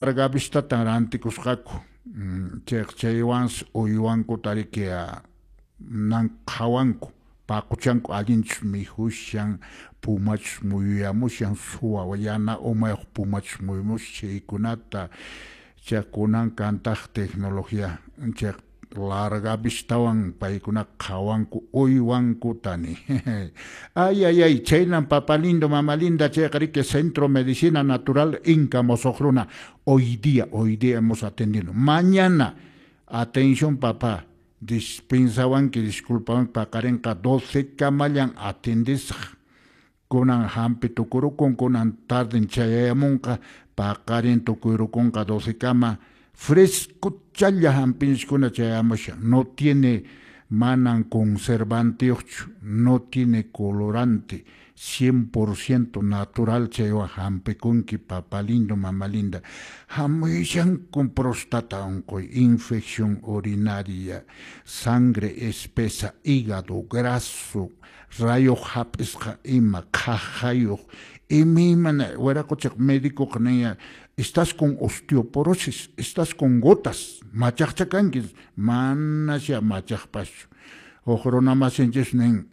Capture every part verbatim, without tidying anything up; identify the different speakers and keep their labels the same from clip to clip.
Speaker 1: Larga vistatan rantikusqaku, chayqa chaywansi uywankuta riki nan qhawanku, paquchanku allinchus mikhushan, pumachus muyuyamushan, suwa yana umayuq pumachus muyumushan chaykunata. Chay kunan kantaq tecnología, chay larga vistawan paykunaqa qhawanku uywankuta ni. Ay, ay, ay, chaynan papa lindo, mama linda, chayqa riki Centro Medicina Natural Inca Mosoq Runa. Hoy día, hoy día hemos atendido. Mañana, atención papá, dispensawanki, disculpawanki, paqarinqa doce kamallan atendisaq. Kunan hampi tukurukun, kunan tarden chayamunqa, paqarin tukuyrukunqa doce kama. Frescochalla hampinchikuna chayamushan, no tiene manan conservanteyuqchu, no tiene colorante, cien por ciento natural chaywan hampikunki papa lindo, mama linda. Hamuyashankun próstata unquy, infección urinaria, sangre espesa, hígado graso, rayuq hap'isqa ima, qhaqhayuq, imaymana wiraquchaq médicoqa ninya, estás con osteoporosis, estás con gotas, machaqcha kanki, manasya machaqpaschu. Huk runa masinchis nin,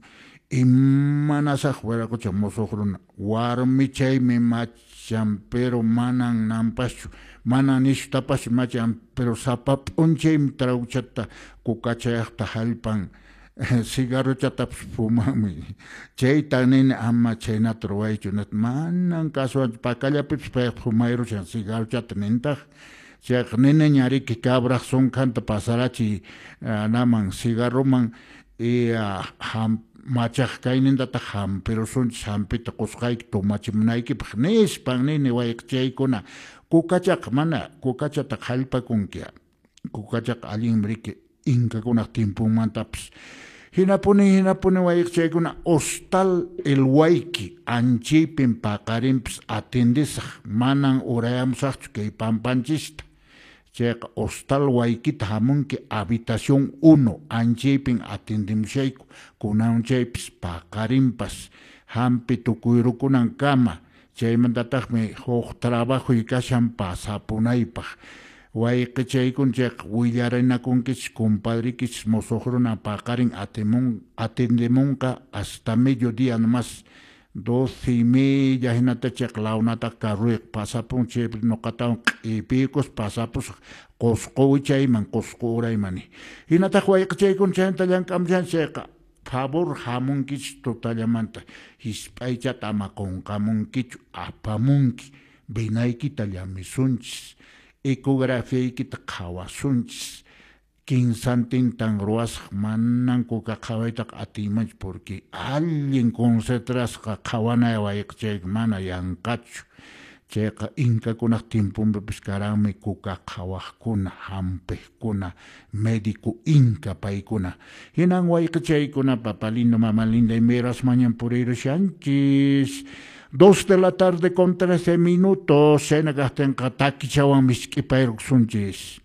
Speaker 1: imanasaq wiraqucha musuq runa, warmichaymi machan, pero manan nanpaschu, manan nishutapaschu machan, pero sapa p'unchaymi trawchata kukachayaqta hallpan, cigarrochatapas fumanmi. Chayta nini ama chhaynata ruwaychu, manan kasuwanchu, pakallapipas payqa fumayrushan cigarrochata nintaq. Chayqa niniña riki cabraq sunkhanta pasarachiy naman cigarroman y ham machaq kaynintataq hampirusunchis, hampita qusqayki tomachimunaykipaq nispan nini wayqichaykuna. Kukachaqa mana kukachataqa hallpakunki, kukachaqa allinmi riki inkakunaq timpunmantapas. Hinapuni hinapuni wayqichaykuna hostal El Huayqui anchaypin paqarinpas atendisaq, manan urayamusaqchu kay pampanchista. Chayqa hostal Huayquita hamunki habitación uno anchaypin atendemushayku, kunan chaypis paqarinpas hampi tukuyrukunankama. Chaymantataqmi huk trabajoy kashan pasapunaypaq. Wayqichaykuna chayqa willarinakunkichis compadrikichis musuq runa paqarin atimun atendemunqa hasta mediodía nomás, doce y media hinata chayqa lawnataqa carruyqa pasapun, chaypi nuqatawan q'ipiykus pasapusaq Qusqu wichayman, Qusqu urayman. Hinataq wayqichaykuna chaynata llank'amushan chayqa favor hamunkichis tutallamanta, hisp'aychata ama qunqamunkichu, apamunki, venaykita llamisunchis, ecografiaykita qhawasunchis, kinsantintan ruwasaq, manan kuka qhawaytaqa atiymanchu porque allin concentrasqa qhawanay wayqichayku mana yanqachu. Chayqa inkakunaq timpunpipis karanmi kuka qhawaqkuna, hampiqkuna, médico inca paykuna. Hinan wayqichaykuna papa lindo, mama linda, imayrasmañan puriyrushanchis. Dos de la tarde con trece minutos, chayna kaqtinqa takichawan misk'ipayrukusunchis.